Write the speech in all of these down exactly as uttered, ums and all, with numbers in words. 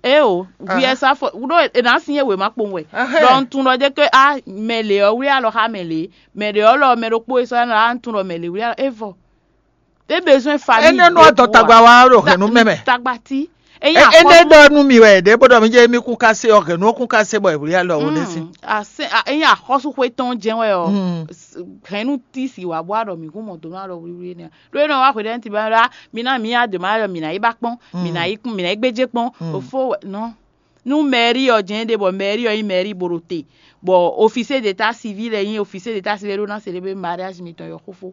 Eo, viyɛ sa fɔ ɖó è nǎ sin e wěma kpowun wɛ. Ɖɔ un tunwun ɖɔ jɛ ké a mɛ lě ɔ́ wlí alɔ xá mɛ lě, mɛ ɖě ɔ́ lɔ mɛ ɖokpó e sɔ́ ɛ nɔ a un tunwun ɖɔ mɛ lě wlí alɔ é vɔ. É bezɔn famille. Énɛ́ nú adɔ tagba wa ɖo hɛ̌nnu mɛ mɛ. Tagba tí. Énɛ́ ɖɔ nú mi wɛ ɖě bó ɖɔ mi jẹ́ mi kún kásé ɔ́ hɛ̌nnu ó kún kásé bɔ è wlí alɔ wò nɛ́ sín. Ényí axɔ́súxwé tɔn jɛ́n wɛ ɔ́, hɛ̌nnu tí si wǎ bó a ɖɔ mǐ kún mɔ dǒ nú alɔ wlíwlí énɛ́. Ɖó é nɔ wá hweɖɛ́núti ba ɖá mi ná mǐ adǒ ma ɖɔ mǐ ná yi ba kpɔ́n, mǐ ná yi kún, mǐ ná yi gbéjé kpɔ́n. Òfó wɛ nɔ. Nú mɛ̌ri ɔ́ jɛ́n ɖe bɔ mɛ̌ri ɔ́ nyí mɛ̌ri bo ɖo te, bɔ ofisé d'état civil lɛ́ɛ nyí ofisé d'état civil ɖó ná célébrer mariage mitɔn yɔ xófó.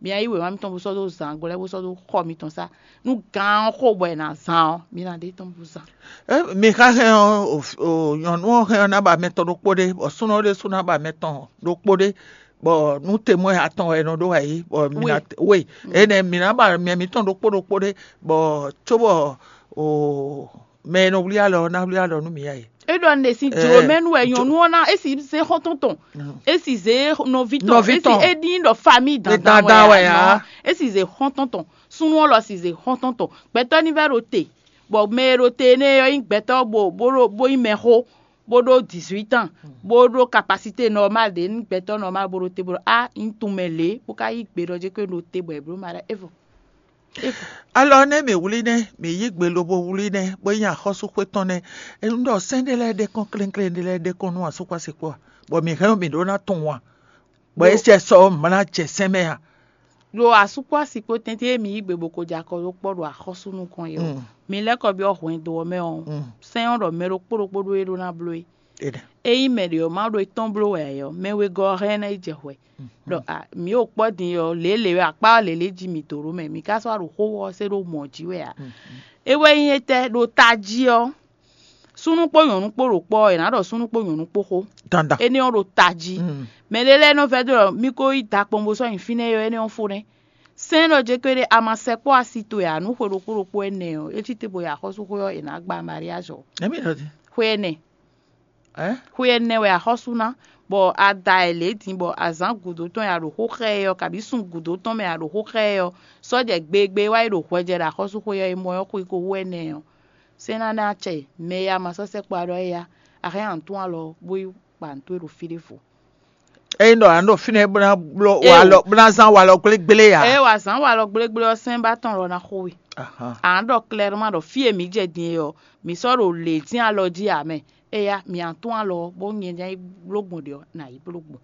Mi ná yí wěma mitɔn bó sɔ́ dó zǎn gblɛ́ bó sɔ́ dó xɔ mitɔn sá. Nú gǎn ɔ́ xo bɔ è nǎ zán ɔ́, mi ná ɖe tɔn bó zán. Mi xa hɛn ɔ́, nyɔ̌nu ɔ́ hɛn ɔ́ ná ba mɛ tɔn ɖokpó ɖé, bɔ súnnu ɔ́ ɖésú ná ba mɛ tɔn ɖokpó ɖé, bɔ nú temwɛ atɔn wɛ è nɔ ɖó wɛ yí, bɔ mi ná we énɛ́ mi ná ba mɛ mǐtɔn ɖokpó ɖokpó ɖé, bɔ cóbɔ mɛ e nɔ wlí alɔ ɔ́ ná wlí alɔ nú mǐ ǎ é. É ɖɔ un ɖe sín jlǒ mɛ nú wɛ nyɔ̌nu ɔ́ ná é si zé xɔ́ntɔn tɔn, é si zé nɔví tɔn, Nɔví é si tɔn. É ɖi ɖɔ famille dandan Dandan wɛ wɛ ǎ. Nɔ, é si zé xɔ́ntɔn tɔn, súnnu ɔ́ lɔ si zé xɔ́ntɔn tɔn. Gbɛtɔ́ ní vɛ́ ɖo te, bɔ mɛ e ɖo te énɛ́ ɔ́ nyí gbɛtɔ́ bo bó ɖo bó nyí mɛxó, bó ɖó dix-huit ans, bó ɖó capacité normale ɖě nú gbɛtɔ́ normal bó ɖo te bó ɖɔ á un tunwun mɛ lě bó ka yí gbe ɖɔ jɛ ko ɖo te bɔ è blǒ ma ɖɔ é vɔ. Alɔ nɛ́ mǐ wlí nɛ́, mǐ yí gbe lobo wlí nɛ́, bó nyí axɔ́súxwé tɔn nɛ́. Un ɖɔ sɛ́n ɖé lɛ́ɛ ɖe kɔn klénklén ɖé lɛ́ɛ ɖe kɔn nú asúkpásikpó a, bɔ mǐ hɛn ɔ́ mǐ ɖó ná tunwun a, bɔ é sɛ sɔ ɔ́ mǐ ná jɛ sɛn mɛ a. Ɖo asúkpásikpó tɛ́ntin e mǐ yí gbe bó ko jɛ akɔ ɖó kpɔ́ ɖo axɔ́sú nukɔn é ɔ́, mi lɛ́ kɔ byɔ́ hwɛndo ɔ́ mɛ ɔ́, sɛ́n ɔ́ ɖɔ mɛ ɖokpó ɖokpó ɖó é ɖó ná bló é. Ényí mɛ ɖě ɔ́ ma ɖó é tɔ́n bló wɛ ǎ é ɔ́, mɛ wegɔ́ ɔ́ hɛn ná yi jɛ hwɛ. Ɖɔ a mǐ ɖo kpɔ́ din ɔ́, lě e lě wɛ akpá ɔ́ lě lě jí mǐ dó ɖó mɛ, mǐ ka sɔ́ wá ɖo xó ɔ́ se ɖó mɔ̌ jí wɛ ǎ. É wɛ nyí étɛ́ ɖo tají ɔ́, súnnu kpó nyɔ̌nu kpó ɖo kpɔ́ ɔ́, è nǎ ɖɔ súnnu kpó nyɔ̌nu kpó xó. Dandan. Énɛ́ ɔ́ ɖo tají. Mɛ ɖé lɛ́ɛ nɔ vɛ́ dó ɖɔ mí ko yi da kpɔn bó sɔ́ nyi fínɛ́ é ɔ́, énɛ́ ɔ́ fó nɛ́. Sɛ́n ɖɔ jɛ kpéɖé a ma sɛkpɔ́ asi towe ǎ nú xwe ɖokpó ɖokpó ɛnɛ ɔ́, é cí te bo yi axɔ́súxwé ɔ́, è nǎ gba mariage ɔ́. Ɛmí ɖɔ din. Xwe ɛnɛ. Ɛ? Xwe ɛnɛ wɛ axɔ́sú ná, bɔ a da ɛ lě din bɔ azǎn gǔdo tɔn e a ɖo xó xá ɛ ɔ́, kabǐ sun gǔdo tɔn mɛ a ɖo xó xá ɛ ɔ́, sɔ́ jɛ gbegbe wá yi ɖo hwɛ jɛ ɖo axɔ́súxwé ɔ́, e mɔ ɔ́ xwe ko hú ɛnɛ ɔ́, sɛ́n ná ná acɛ mɛ e a ma sɔ́ sɛkpɔ́ ɖɔ éyá, a hɛn antún alɔ bó yi kpa nǔ towe ɖo fí ɖěvo. Ényí ɖɔ a nɔ ɖo fínɛ́ bó ná bló Eo. Walɔ bó ná zán walɔ gblégblé ǎ. Ée wa zǎn walɔ gblégblé ɔ́, sɛ́n ba tɔn lɔ ná xo we. Ahan. A nǎ ɖɔ klɛ́rúma ɖɔ fí e mǐ jɛ din é ɔ́, mǐ sɔ́ ɖo lě dín alɔ jí ǎ mɛ. Éyá, mǐ a tún alɔ ɔ́, bó nyɛ ná yi bló gbɔn ɖě ɔ́, nǎ yi bló gbɔn.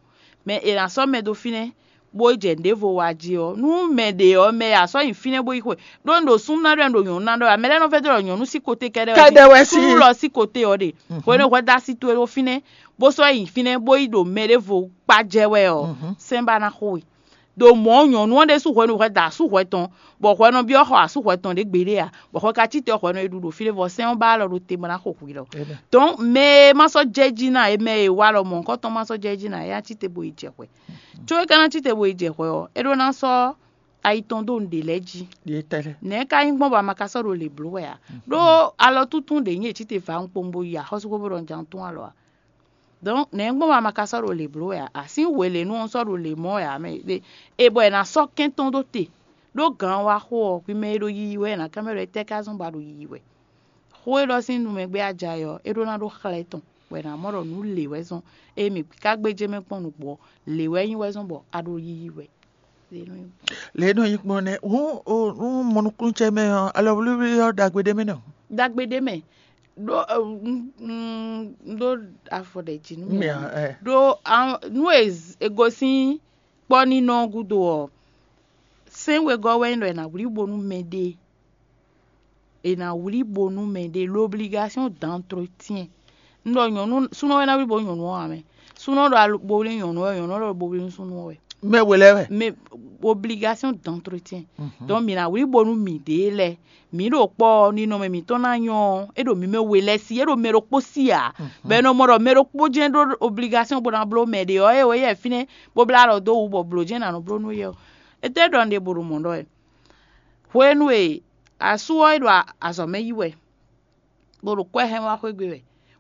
Mɛ è nǎ sɔ́ mɛ dó fínɛ́, bó jɛ nǔɖévo wa jí ɔ́, nú mɛ ɖě ɔ́, mɛ e a sɔ́ nyi fínɛ́ bó yi xwe, ɖó un ɖo súnnu ná ɖɔ un ɖo nyɔ̌nu ná ɖɔ ǎ. Mɛ lɛ́ɛ nɔ vɛ́ dó ɖɔ nyɔ̌nu sí koté kɛ́ɖɛ́ wɛ Kɛ́ɖɛ́ wɛ sí. Súnnu lɔ sí koté ɔ́ ɖe. Hwenu e hwɛ dó asi towe ɖó fínɛ́, bó sɔ́ yi fínɛ́, bó yi ɖo mɛ ɖěvo kpá jɛ wɛ ɔ́, sɛ́n ba ná xo we. Ɖo mɔ̌ nyɔ̌nu ɔ́ ɖésú hwenu hwɛ da asú hwɛ tɔn, bɔ hwɛ nɔ byɔ́ xɔ asú hwɛ tɔn ɖě gbeɖé ǎ, bɔ hwɛ ka cí te ɔ́ hwɛ nɔ yi ɖu ɖo fí ɖé vɔ sɛ́n ɔ́ ba alɔ ɖo te bɔ ná xo hwi lɔ. Dɔ̌n mɛ e ma sɔ́ jɛ jí ná é, mɛ e wa lɔ mɔ̌hunkɔ tɔn ma sɔ́ jɛ jí ná é, a cí te bo yi jɛ hwɛ. Có é ka ná cí te bo yi jɛ hwɛ ɔ́, é ɖó ná sɔ́ ayi tɔn dó nǔɖé lɛ́ɛ jí. Nɛ̌ ka nyí gbɔn bɔ a ma ka sɔ́ ɖo lě bló wɛ ǎ? Ɖó alɔ túntún ɖě nyí è cí te vǎ un kpowun bo yi axɔ́súxwé bó ɖɔ un jɛ un tún alɔ ǎ. Dɔ̌n nɛ̌ gbɔn wɛ a ma ka sɔ́ ɖo lě bló wɛ ǎ? Asín we lě nu ɔ́ sɔ́ ɖo lě mɔ wɛ ǎ mɛ. E bɔ è nǎ sɔ́ kɛ́n tɔn ɖó te, ɖó gǎn wá xo ɔ́, hwi mɛ e ɖo yiyi wɛ è nǎ kán mɛ ɖɔ étɛ́ ka zɔ́n ba ɖo yiyi wɛ? Xó e ɖɔ sín nu mɛ gbé a ja é ɔ́, é ɖó ná ɖó xlɛ́ tɔn, bɔ è nǎ mɔ ɖɔ nǔ lě wɛ zɔ́n, ée mǐ ka gbéjé mɛ kpɔ́n nǔgbó ɔ́, lě wɛ nyí wɛ zɔ́n bɔ a ɖo yiyi wɛ. Lě e nɔ nyí gbɔn nɛ́, hǔn o nú mɔnukúnúcɛ mɛ ɔ́, alɔwlíwlí ɔ́ ɖagbe ɖé mɛ nɔ. Ɖagbe ɖé mɛ ɖó un ɖó afɔ ɖɛ jí nú mɛ. Ɖó nú e gosín kpɔ́ nínɔ gúdo ɔ́, sɛ́n wegɔ́ wɛ nyí ɖɔ è nǎ wlí bo nú mɛɖée. È nǎ wlí bo nú mɛɖée, l'obligation d'entretien. Un ɖɔ nyɔ̌nu súnɔ wɛ ná wlí bo nú nyɔ̌nu ɔ́ ǎ mɛ. Súnɔ ɖo alo bo wlí nyɔ̌nu ɔ́, nyɔ̌nu ɔ́ ɖo bo wlí nú súnnu ɔ́ wɛ. Mɛ we lɛ́ɛ wɛ. Mais obligation d'entretien. Donc mǐ ná wlí bo nú mǐɖée lɛ́ɛ. Mǐ ɖo kpɔ́ ɔ́, ninɔmɛ mǐtɔn ná nyɔ́ ɔ́, é ɖo mǐ mɛ we lɛ́ɛ sí, é ɖo mɛ ɖokpó sí ǎ. Bɔ è nɔ mɔ ɖɔ mɛ ɖokpó jɛ́n ɖó obligation bó ná bló mɛ ɖě ɔ́, é wɛ yɛ fínɛ́ bó blá alɔ dó wú bɔ blǒ jɛ́n è nǎ nɔ bló nú yɛ ɔ́. Étɛ́ ɖɔ un ɖe bo ɖo mɔ̌ ɖɔ wɛ? Hwenu e asú ɔ́ é ɖo azɔ̌ mɛ yi wɛ, bó ɖo kwɛ́ hɛn wá xwé gbe wɛ,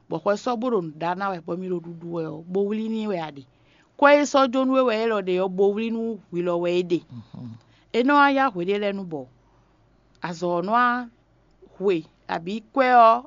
bɔ xwɛ sɔ́ bó ɖo nǔ ɖa ná wɛ, bɔ mi ɖo ɖuɖu wɛ ɔ́, bo wlí n'i wɛ a ɖe? Kwɛ́ e sɔ́ jó nú we wɛ élɔ́ ɖe ɔ́, bo wlí nú hwi lɔ wɛ é ɖe. É nɔ wá yá hweɖé lɛ́ɛ nu bɔ azɔ̌ ɔ́ nɔ wá hwe, abǐ kwɛ́ ɔ́